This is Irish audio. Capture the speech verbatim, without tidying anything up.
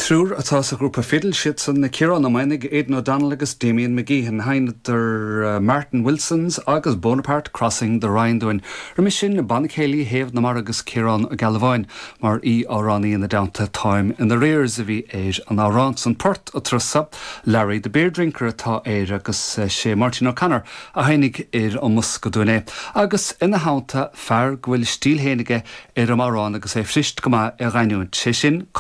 Triúr atá sa ghrúpa Fidil siad san na Ciarán Ó Maonaigh Aidan O'Donnell agus Damien McGeehan sheinneadar uh, Martin Wilson's agus Bonaparte Crossing the Rhine dúinn. Roimhe sin Banna Céilí Thaobh na Mara agus Ciarán Ó Gealbháin mar aoi-amhránaí ina dteannta Time in Arrears a bhí ar an amhrán san port atrusa Larry the Beer Drinker atá air agus uh, sé Martin O'Connor a tháinig ar an mbosca dúinn é. Agus ina theannta fear go bhfuil stíl féin aige ar an amhrán agus é fuirist go maith a ghiniúint sé sin